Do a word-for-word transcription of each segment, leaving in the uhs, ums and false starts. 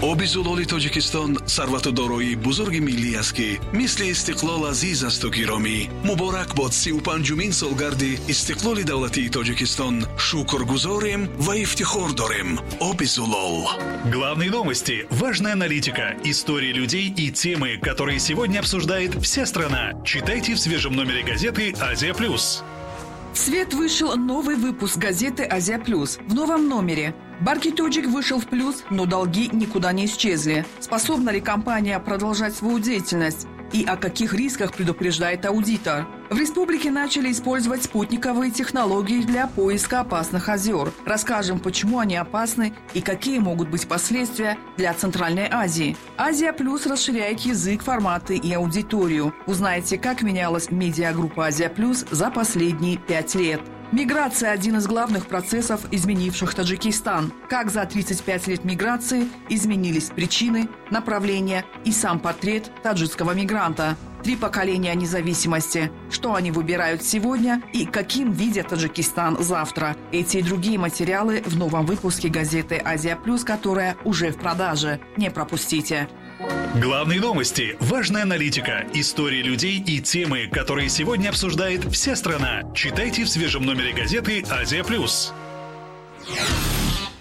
Оби зулоли Тоҷикистон сарвату дороии бузурги миллӣ аст, ки мисли истиқлол азиз асту гиромӣ. Муборак бод сию панҷумин солгарди истиқлоли давлатии Тоҷикистон. Шукргузорем ва ифтихор дорем. Оби зулол. Главные новости, важная аналитика, истории людей и темы, которые сегодня обсуждает вся страна. Читайте в свежем номере газеты «Азия Плюс». В свет вышел новый выпуск газеты «Азия Плюс». В новом номере: «Барки Тоджик» вышел в плюс, но долги никуда не исчезли. Способна ли компания продолжать свою деятельность? И о каких рисках предупреждает аудитор? В республике начали использовать спутниковые технологии для поиска опасных озер. Расскажем, почему они опасны и какие могут быть последствия для Центральной Азии. «Азия Плюс» расширяет язык, форматы и аудиторию. Узнаете, как менялась медиагруппа «Азия Плюс» за последние пять лет. Миграция – один из главных процессов, изменивших Таджикистан. Как за тридцать пять лет миграции изменились причины, направления и сам портрет таджикского мигранта. Три поколения независимости. Что они выбирают сегодня и каким видят Таджикистан завтра. Эти и другие материалы в новом выпуске газеты «Азия Плюс», которая уже в продаже. Не пропустите. Главные новости, важная аналитика, истории людей и темы, которые сегодня обсуждает вся страна. Читайте в свежем номере газеты «Азия Плюс».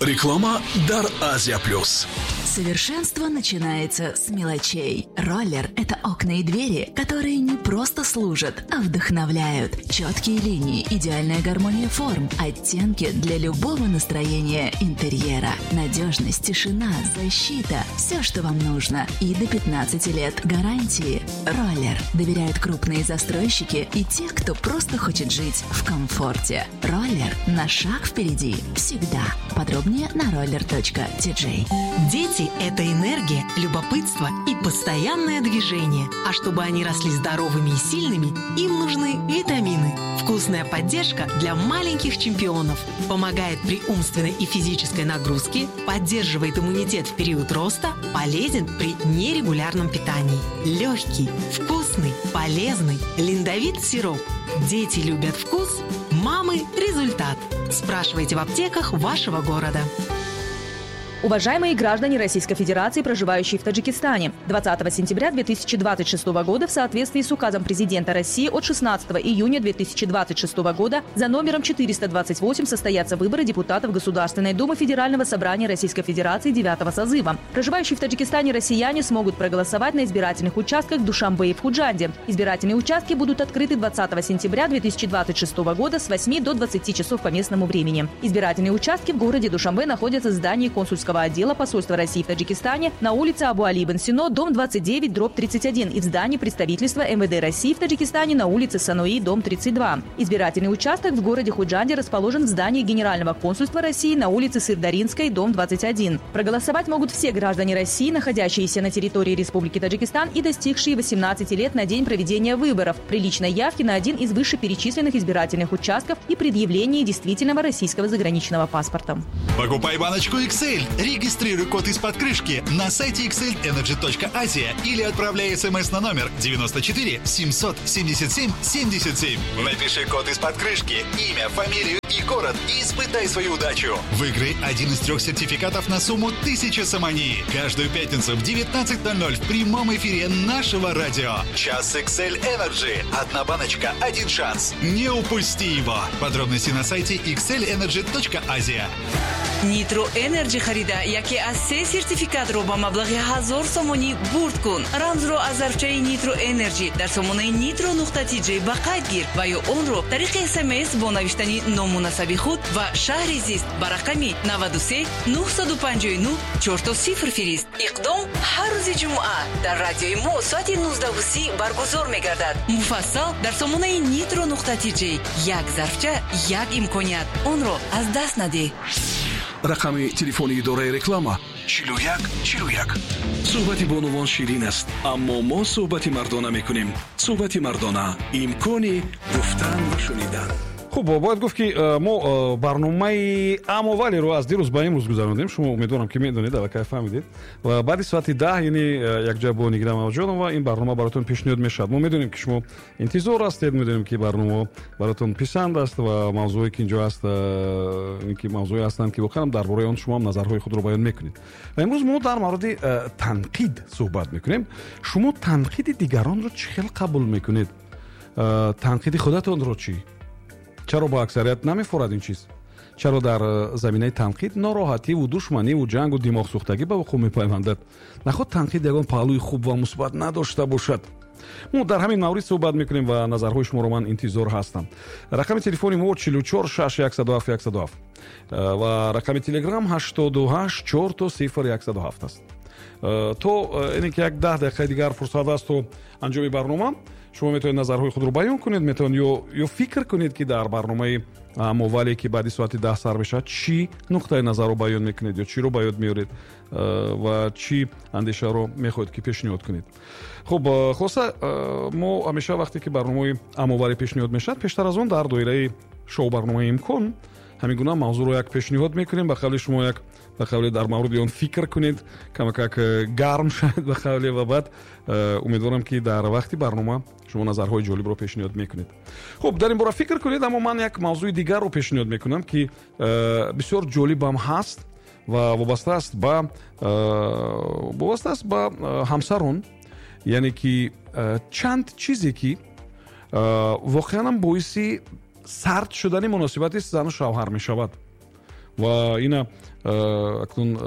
Реклама дар «Азия Плюс». Совершенство начинается с мелочей. Роллер – это окна и двери, которые не просто служат, а вдохновляют. Четкие линии, идеальная гармония форм, оттенки для любого настроения интерьера. Надежность, тишина, защита – все, что вам нужно. И до пятнадцати лет гарантии. Роллер доверяют крупные застройщики и те, кто просто хочет жить в комфорте. Роллер на шаг впереди всегда. Подробнее на roller.tj. Дети – это энергия, любопытство и постоянное движение. А чтобы они росли здоровыми и сильными, им нужны витамины. Вкусная поддержка для маленьких чемпионов. Помогает при умственной и физической нагрузке, поддерживает иммунитет в период роста, полезен при нерегулярном питании. Легкий, вкусный, полезный Линдовит сироп. Дети любят вкус, мамы – результат. Спрашивайте в аптеках вашего города. Уважаемые граждане Российской Федерации, проживающие в Таджикистане, двадцатого сентября две тысячи двадцать шестого года в соответствии с указом президента России от шестнадцатого июня две тысячи двадцать шестого года за номером четыреста двадцать восемь состоятся выборы депутатов Государственной Думы Федерального собрания Российской Федерации девятого созыва. Проживающие в Таджикистане россияне смогут проголосовать на избирательных участках в Душанбе и в Худжанде. Избирательные участки будут открыты двадцатого сентября две тысячи двадцать шестого года с восьми до двадцати часов по местному времени. Избирательные участки в городе Душанбе находятся в здании консульского отдела посольства России в Таджикистане на улице Абу Али ибн Сино, дом двадцать девять, дробь тридцать один и в здании представительства М В Д России в Таджикистане на улице Санои, дом тридцать два. Избирательный участок в городе Худжанде расположен в здании Генерального консульства России на улице Сырдаринской, дом двадцать один. Проголосовать могут все граждане России, находящиеся на территории Республики Таджикистан и достигшие восемнадцати лет на день проведения выборов, при личной явке на один из вышеперечисленных избирательных участков и предъявлении действительного российского заграничного паспорта. Покупай баночку X L. Регистрируй код из-под крышки на сайте xlenergy точка asia или отправляй смс на номер девяносто четыре семьсот семьдесят семь семьдесят семь. Напиши код из-под крышки, имя, фамилию и город и испытай свою удачу. Выиграй один из трех сертификатов на сумму тысяча сомони. Каждую пятницу в девятнадцать ноль ноль в прямом эфире нашего радио. Час X L Energy. Одна баночка, один шанс. Не упусти его. Подробности на сайте xlenergy точка asia. Нитро Энерджи харида яке аз се сертификатро ба маблағи ҳазор сомонӣ бурд кун. Рамзро аз зарфчаи Нитро Энерджи дар сомонаи нитро нуқта тиҷ ба қайд гир ва ё онро тариқи смс бо навиштани ному насаби худ ва шаҳри зист ба рақами наваду се нӯҳсаду панҷоҳу нӯҳ чорто сифр фирист. Иқдом ҳар рӯзи ҷумъа дар радиои мо соати нуздаҳу си баргузор мегардад. Муфассал дар сомонаи нитро нуқта тиҷ. Як зарфча, як имконият, онро аз даст надеҳ. Рақами телефони идораи реклама чилу як чилу як. Суҳбати бонувон ширин аст, аммо мо суҳбати мардона мекунем. Суҳбати мардона, имкони гуфтан ва шунидан. Хуб, бояд гуфт, ки мо барномаи Амовалиро аз дирӯз ба имрӯз гузарондем. Шумо умедворам, ки медонед, аллакай фаҳмидед. Ва баъди соати даҳ, яъне якҷоя бо Нигина Мамаҷонова, ин барнома баротон пешниҳод мешавад. Мо медонем, ки шумо интизор ҳастед, медонем, ки барнома баротон писанд аст ва мавзӯе, ки инҷо ҳаст, ки мавзӯе ҳастанд, ки воқеан дар бораи он шумо ҳам назарҳои худро баён мекунед. Ва имрӯз мо дар мавриди танқид суҳбат мекунем. Шумо танқиди дигаронро чӣ хел қабул мекунед? Танқиди худатонро чӣ? Чаро ба аксарият намефорад ин чиз? Чаро дар заминаи танқид нороҳативу душманиву ҷангу димоғсӯхтагӣ ба вуқӯъ мепайвандад? Наход танқид ягон паҳлӯи хуб ва мусбат надошта бошад? Мо дар ҳамин маврид суҳбат мекунем ва назарҳои шуморо ман интизор ҳастам. Рақами телефони мо чилу чор шаш яксаду ҳафт яксаду ҳафт ва рақами телеграм ҳаштоду ҳашт чор то сифр яксаду ҳафт аст. То ин ки як даҳ дақиқаи дигар фурсат аст то анҷоми барнома, шумо метавонед назарҳои худро баён кунед, метавонед ё ё фикр кунед, ки дар барномаи Амовале, ки баъди соати даҳ сар мешавад, чӣ нуқтаи назарро баён мекунед ё чиро ба ёд меоред ва чӣ андешаро мехоҳед, ки пешниҳод кунед. Хуб, хулоса, мо ҳамеша вақте ки барномаи Амовале пешниҳод мешавад, пештар аз он дар доираи шоу барномаи Имкон ҳамин гуна мавзӯъро як пешниҳод мекунем. Ба қавли шумо як ба қавли дар мавриди он фикр кунед, камакак гарм шавед ба қавле, ва баъд умедворам, ки дар вақти барнома шумо назарҳои ҷолибро пешниҳод мекунед. Хуб, дар ин бора фикр кунед, аммо ман як мавзӯи дигарро пешниҳод мекунам, ки бисёр ҷолибам ҳаст ва вобаста аст ба вобаста аст ба ҳамсарон, яъне ки чанд чизе, ки воқеанам боиси сард шудани муносибати зану шавҳар мешавад. Ва ина акнун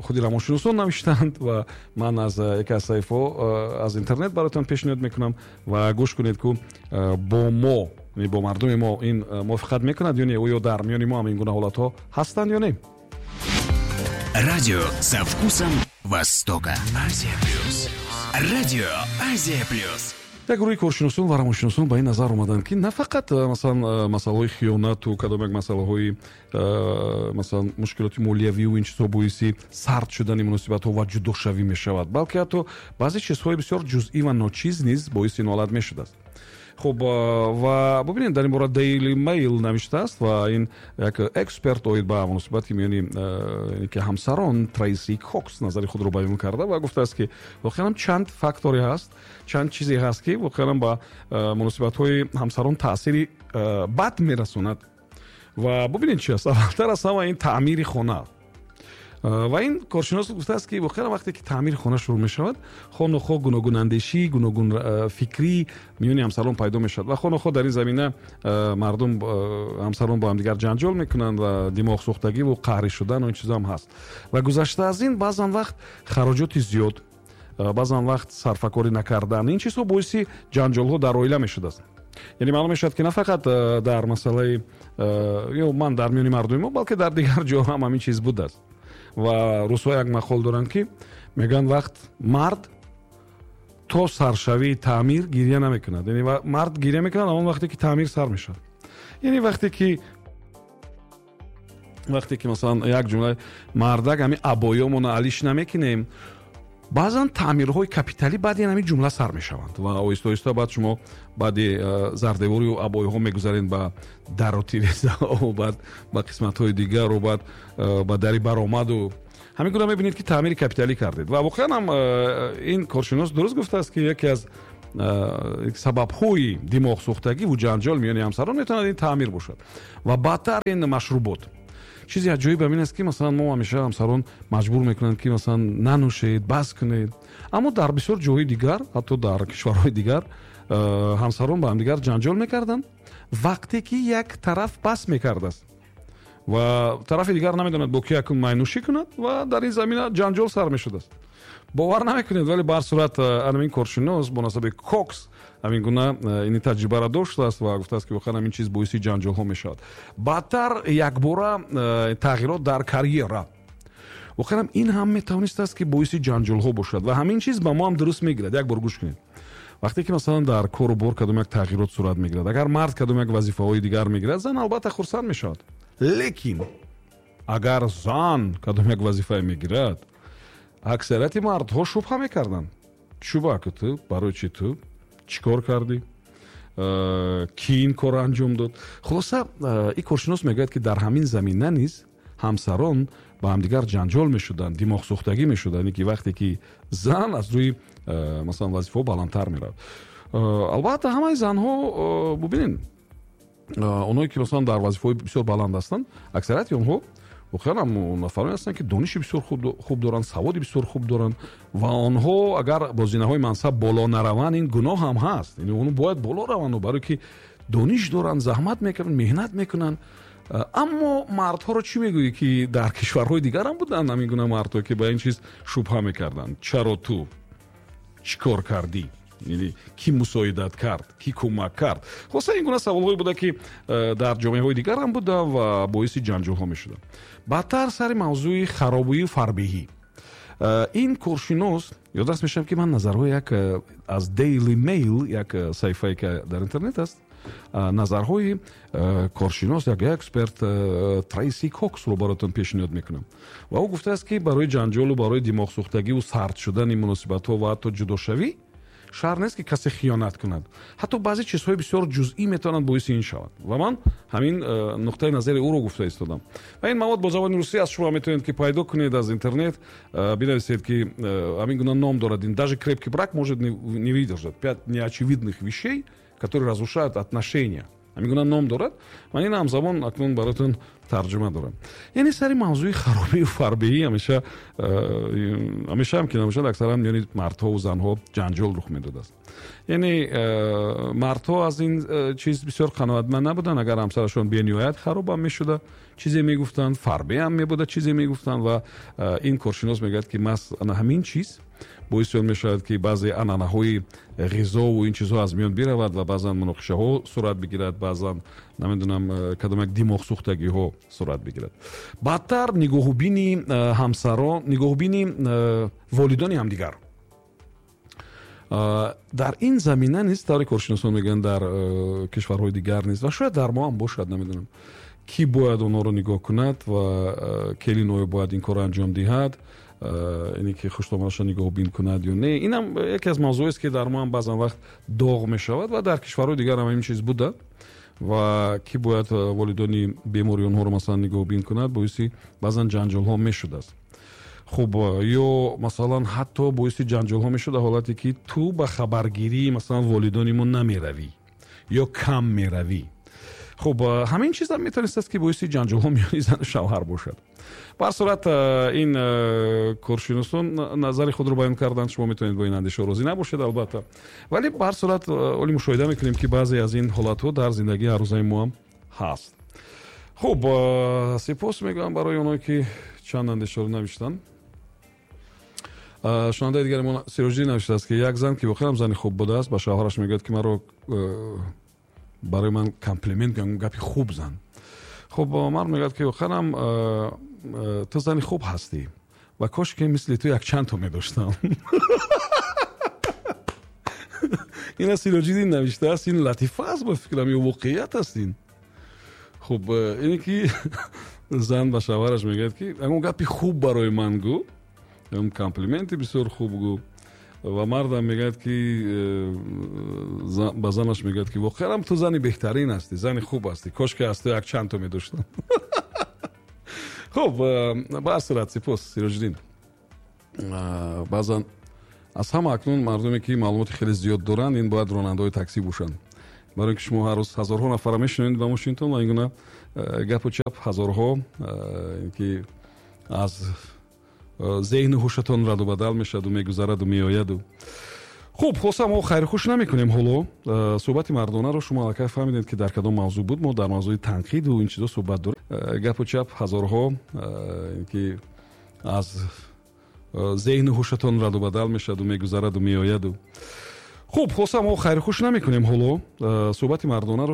худи равоншиносон навиштанд ва ман аз яке аз саҳифаҳо аз интернет бароятон пешниҳод мекунам ва гӯш кунед, ку бо мо, бо мардуми мо ин мувофиқат мекунад ё не, оё дар миёни мо ҳам ин гуна ҳолатҳо ҳастанд ё не. Радио со вкусом Востока. Азия Плюс. Радио Азия Плюс. Як гурӯҳи коршиносон ва равоншиносон ба ин назар омаданд, ки на фақат масалан масъалаҳои хиёнату кадом як масъалаҳои масалан мушкилоти молиявию ин чизҳо боиси сард шудани муносибатҳо ва ҷудошавӣ мешавад, балки ҳатто баъзе чизҳои бисёр ҷузъӣ ва ночиз низ боиси ин ҳолат мешудааст. Хуб, ва бубинед, дар ин бора Daily Mail навиштааст ва ин як эксперт оид ба муносибати миёни ки ҳамсарон Трейси Кокс назари худро баён карда ва гуфтааст, ки воқеан чанд факторе ҳаст, чанд чизе ҳаст, ки воқеан ба муносибатҳои ҳамсарон таъсири бад мерасонад. Ва бубинед чи аст. Аввалтар аз ҳама ин таъмири хона. Ва ин коршинос гуфтааст, ки воқеан вақте ки таъмири хона шурӯъ мешавад, хонухо гуногунандешӣ, гуногунфикрӣ миёни ҳамсарон пайдо мешавад ва хонухо дар ин замина мардум ҳамсарон бо ҳамдигар ҷанҷол мекунанд ва димоғсӯхтагӣ ва қаҳрӣ шудан ва ин чизо ҳам ҳаст. Ва гузашта аз ин баъзан вақт хароҷоти зиёд, баъзан вақт сарфакорӣ накардан, ин чизҳо боиси ҷанҷолҳо дар оила мешудааст. Яъне маълум мешавад, ки на фақат дар масъалаи ё ман дар миёни мардуми мо, балки дар дигар ҷо ҳам ҳамин чиз будааст. Ва русҳо як мақол доранд, ки мегӯянд вақт мард то саршавии таъмир гиря намекунад. Яъне мард гиря мекунад он вақте ки таъмир сар мешавад. Яъне вақте ки вақте ки масалан як ҷумла мардак ҳамин абоёмона алиш намекунем, баъзан таъмирҳои капиталӣ баъди ҳамин ҷумла сар мешаванд ва оҳиста оҳиста баъд шумо баъди зардеворию абоиҳо мегузаред ба дару тирезаҳо, баъд ба қисматҳои дигару баъд ба дари баромаду ҳамин гуна мебинед, ки таъмири капиталӣ кардед. Ва воқеан ҳам ин коршинос дуруст гуфтааст, ки яке аз сабабҳои димоғсӯхтагӣ ва ҷанҷол миёни ҳамсарон метавонад ин таъмир бошад. Ва баъдтар ин машрубот. Чизи аҷоиб ҳамин аст, ки масалан мо ҳамеша ҳамсарон маҷбур мекунанд, ки масалан нанӯшед, бас кунед, аммо дар бисёр ҷойҳои дигар, ҳатто дар кишварҳои дигар, ҳамсарон ба ҳамдигар ҷанҷол мекарданд вақте ки як тараф бас мекардааст ва тарафи дигар намедонад бо ки якун майнӯшӣ кунад ва дар ин замина ҷанҷол сар мешудааст. Бовар намекунед, вале ба ҳар сурат ҳамин коршинос бо насаби Кокс ҳамин гуна ин таҷрибаро доштааст ва гуфтааст, ки воқеан ҳамин чиз боиси ҷанҷолҳо мешавад. Баъдтар якбора тағйирот дар карьера. Воқеан ин ҳам метавонистааст, ки боиси ҷанҷолҳо бошад ва ҳамин чиз ба мо ҳам дуруст мегирад. Як бор гӯш кунед. Вақте ки масалан дар кору бор кадом як тағйирот сурат мегирад, агар мард кадом як вазифаҳои дигар мегирад, зан албатта хурсанд мешавад. Лекин агар зан кадом як вазифае мегирад, аксарияти мардҳо шубҳа мекарданд. Чӯба ки ту, барои чӣ ту чӣ кор кардӣ? Ки ин корро анҷом дод? Хулоса, ин коршинос мегӯяд, ки дар ҳамин замина низ ҳамсарон ба ҳамдигар ҷанҷол мешуданд, димоғсӯхтагӣ мешуданд, ки вақте ки зан аз рӯи, масалан, вазифаҳо баландтар меравад. Албатта, ҳамаи занҳо, бубинед, онҳое ки, масалан, дар вазифаҳои бисёр баланд ҳастанд, аксарияти онҳо воқеан ҳам нафароне ҳастанд, ки дониши бисёр хуб доранд, саводи бисёр хуб доранд, ва онҳо агар бо зинаҳои мансаб боло нараванд, ин гуноҳ ҳам ҳаст. Онҳо бояд боло раванд, барое ки дониш доранд, заҳмат мекунанд, меҳнат мекунанд. Аммо мардҳоро чӣ мегӯӣ, ки дар кишварҳои дигар ҳам буданд ҳамин гуна мардҳо, ки ба ин чиз шубҳа мекарданд? Чаро ту чӣ кор кардӣ, ки мусоидат кард, ки кӯмак кард? Хулоса, ин гуна саволҳое буда, ки дар ҷомеаҳои дигар ҳам буда ва боиси ҷанҷолҳо мешуданд. Баъдтар сари мавзӯи харобию фарбеҳӣ ин коршинос, ёдрас мешавам, ки ман назарҳои як аз Daily Mail, як саҳифае ки дар интернет аст, назарҳои коршинос, як эксперт Трейси Коксро баротон пешниҳод мекунам. Ва ӯ гуфтааст, ки барои ҷанҷолу барои димоғсӯхтагиву сард шудани муносибатҳо ва ҳатто ҷудошавӣ шарт нест, ки касе хиёнат кунад. Ҳатто баъзе чизҳои бисёр ҷузъӣ метавонанд боиси ин шаванд. Ва ман ҳамин нуқтаи назари ӯро гуфта истодам. Ва ин мавод бо забони русӣ аз шумо метавонед, ки пайдо кунед аз интернет, бинависед, ки ҳамин гуна ном дорад ин «Даже крепкий брак может не выдержать. Пять неочевидных вещей, которые разрушают отношения». Ҳамин гуна ном дорад. Ман ин ҳамзамон акнун бароятон тарҷума дорам. Яъне сари мавзӯи харобию фарбеҳӣ ҳамеша, ҳамешаам ки набошад, аксаран миёни мардҳову занҳо ҷанҷол рух медодааст. Яъне мардҳо аз ин чиз бисёр қаноатманд набуданд, агар ҳамсарашон бениҳоят харобам мешуда, чизе мегуфтанд, фарбеам мебуда, чизе мегуфтанд. Ва ин коршинос мегӯяд, ки маҳз ана ҳамин чиз боиси он мешавад, ки баъзе анъанаҳои ғизову ин чизҳо аз миён биравад ва баъзан муноқишаҳо сурат бигирад, баъзан, намедонам, кадом як димоғсӯхтагиҳо сурат бигирад. Баъдтар нигоҳубини ҳамсарон, нигоҳубини волидони ҳамдигар дар ин замина низ, тавре коршиносон мегӯянд, дар кишварҳои дигар низ ва шояд дар мо ҳам бошад, намедонам, кӣ бояд онҳоро нигоҳ кунад ва келин оё бояд ин корро анҷом диҳад, ине ки хуштомадаша нигоҳубин кунад ё не. Инам яке аз мавзӯест, ки дар мо ҳам баъзан вақт доғ мешавад ва дар кишварҳои дигар ҳам ҳамин чиз буда. Ва кӣ бояд волидони бемори онҳоро, масалан, нигоҳубин кунад, боиси баъзан ҷанҷолҳо мешудааст. Хуб, ё масалан, ҳатто боиси ҷанҷолҳо мешуда ҳолате, ки ту ба хабаргирии, масалан, волидони мо намеравӣ ё кам меравӣ. Хуб, ҳамин чизам метавонистааст, ки боиси ҷанҷолҳо миёни зану шавҳар бошад. Ба ҳар сурат, ин коршиносон назари худро баён карданд. Шумо метавонед бо ин андеша розӣ набошед, албатта, вале ба ҳар сурат оли мушоҳида мекунем, ки баъзе аз ин ҳолатҳо дар зиндагии ҳаррӯзаи мо ҳам ҳаст. Хуб, сипос мегӯям барои оное, ки чанд андешаро навиштанд. Шунавандаи дигари мо Сироҷиддин навиштааст, ки як зан, ки воқеан зани хуб будааст, ба шавҳараш мегӯяд, ки маро барои ман комплимент, гапи хуб зан. Хуб, мард мегӯяд, ки воқеанам ту зани хуб ҳастӣ ва кош ки мисли ту якчандто медоштам. Ин аз Сироҷиддин навиштааст. Ин латифа аст, ба фикрам, ё воқеият аст ин? Хуб, ине ки зан ба шавҳараш мегӯяд, ки ягон гапи хуб барои ман гӯ, ягон комплименти бисёр хуб гӯ. Ва мардам мегӯяд, ки ба занаш мегӯяд, ки воқеан ту зани беҳтарин ҳастӣ, зани хуб ҳастӣ, кош ки аз ту якчандто медоштам. Хуб, ба ҳар сурат, сипос, Сироҷиддин. Баъзан аз ҳама акнун мардуме, ки маълумоти хеле зиёд доранд, ин бояд ронандаҳои таксӣ бошанд, барои ки шумо ҳар рӯз ҳазорҳо нафарро мешунавед ба мошинтон ва ин гуна гапу чап ҳазорҳо ки аз зеҳну ҳушатон раду бадал мешаваду мегузараду меояду. Хуб, хулоса, мо хайрхуш намекунем ҳоло суҳбати мардонаро. Шумо аллакай фаҳмидед, ки дар кадом мавзӯъ буд. Мо дар мавзӯи танқиду ин чизо суҳбат дорем. Гапу чап ҳазорҳо ки аз зеҳну ҳушатон раду бадал мешаваду мегузараду меояду. Хуб, хулоса, мо хайрхуш намекунем ҳоло суҳбати мардонаро.